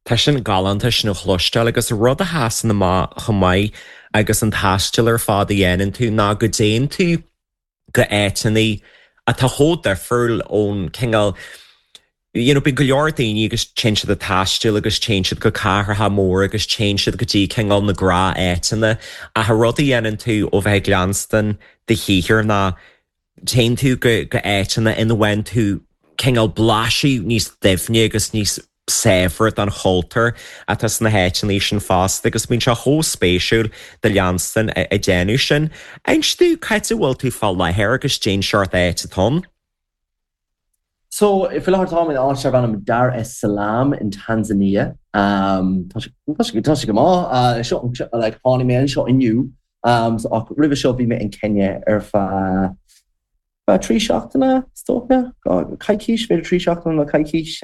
Tá sin galánta sin a chloisteáil agus rud a sheasann amach chomh maith agus an taisteal ar fad a dhéanann tú ná go dtéann tú go áiteanna atá chomh difriúil ón cineál you know bíonn go leor daoine agus téann siad ag taisteal agus téann siad go cathracha móra agus téann siad go dtí cineál na gnáth-áiteanna ach an rud a dhéanann tú ó bheith ag leanstan do shaothair ná téann tú go go áiteanna ina bhfaigheann tú cineál blaiseadh níos doimhne agus níos saibhre den chultúr atá sna háiteanna sin fosta agus bíonn sé chomh spéisiúil do leanstan ag déanamh sin. Inis domh cá háit a bhfuil tú fá láthair agus cén seort áit atá ann. So, faoi láthair táim in áit darb ainm Dar es Salaam in Tanzania. Tá sé, tá sé, tá sé go maith. Seo, like, tháinig mé anseo inniu, so, ach roimhe seo bhí mé in Kenya ar feadh Feadh 3 seachtaine, is dócha. Coicís, b'fhéidir 3 seachtaine nó coicís.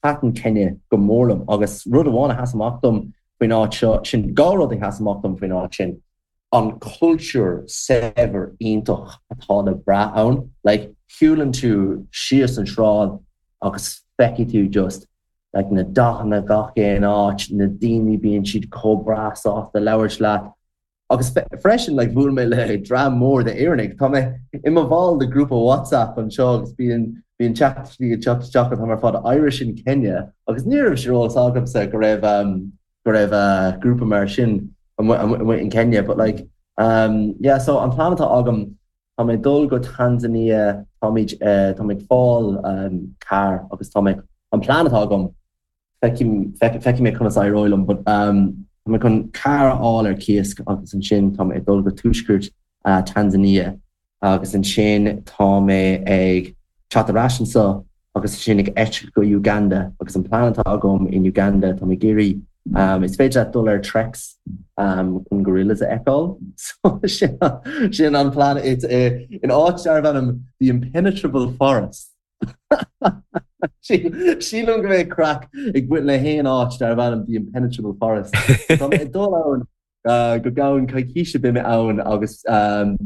Thaitin Kenya go mór liom agus rud amháin a sheas amach dom faoin áit seo, sin dhá rud a sheas amach dom faoin áit sin, an cultúr saibhir iontach atá le brath ann. Like, shiúlann tú síos an sráid agus feicfidh tú just like na dathanna gach aon áit, na daoine bíonn siad chomh breá sásta labhairt leat. Agus freisin, like, bhuail mé le dream mór d'Éireannaigh. Tá mé i mo bhall de ghrúpa WhatsApp anseo agus bíonn bíonn teachtaireachtaí ag teacht isteach an t-am ar fad Irish in Kenya agus ní raibh sé ar eolas agamsa go raibh um, go raibh uh, grúpa mar sin amuigh amuigh in Kenya. But like, um, yeah, so an plean atá agam tá mé ag dul go Tanzania, táimid uh, tá mé ag fáil um, carr agus tá mé an plean atá agam Feicfidh mé conas éireoidh liom but tá mé chun carr a fháil ar cíos agus ansin tá mé ag dul go tuaisceart Tanzania agus ansin tá mé ag teacht ar ais anseo agus ansin ag eitilt go Uganda agus an plean atá agam in Uganda tá mé ag iarraidh is féidir leat dul ar treks chun gorillas a fheiceáil so sin an plean it's in áit darb ainm the Impenetrable Forest. Sílim go mbeidh craic ag baint le haon áit darb ainm The Impenetrable Forest. Tá mé ag dul ann go gceann coicíse beidh mé ann agus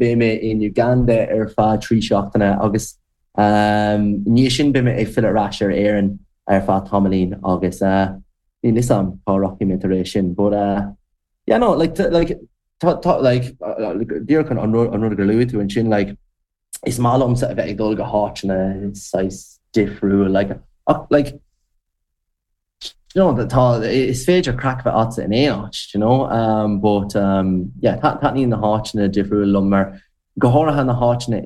beidh mé in Uganda ar feadh 3 seachtaine agus i ndiaidh sin beidh mé ag filleadh ar ais ar Éirinn ar feadh tamaillín agus níl fhios a'm cá rachaidh mé tar éis sin but yeah no like like tá tá like díreach an rud gur luaigh tú ansin like is maith liomsa a bheith ag dul go háiteanna saghas difriúil like ach like you know tá is féidir craic bheith agatsa in aon áit you know um, but um, yeah taitníonn na háiteanna difriúil liom mar go háirithe na háiteanna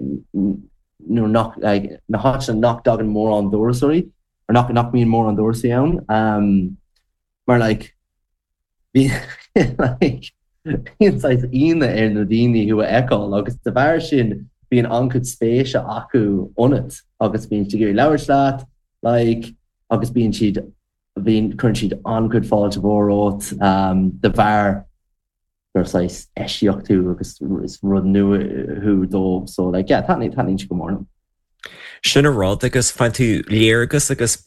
nó nach like, na háiteanna nach dtagann mórán turasóirí or nach nach mbíonn mórán turasóirí ann um, Mar like bhí like bíonn saghas ionadh ar na daoine thú a fheiceáil agus de bharr sin bíonn an-chuid spéise acu ionat agus bíonn siad ag iarraidh labhairt leat like agus bíonn siad bíonn cuireann siad an-chuid fáilte mhór romhat um, de bharr gur saghas eisiach tú agus is rud nua thú dóibh so like yeah taitníonn taitníonn sé go mór liom. Sin an rud agus faigheann tú léargas agus.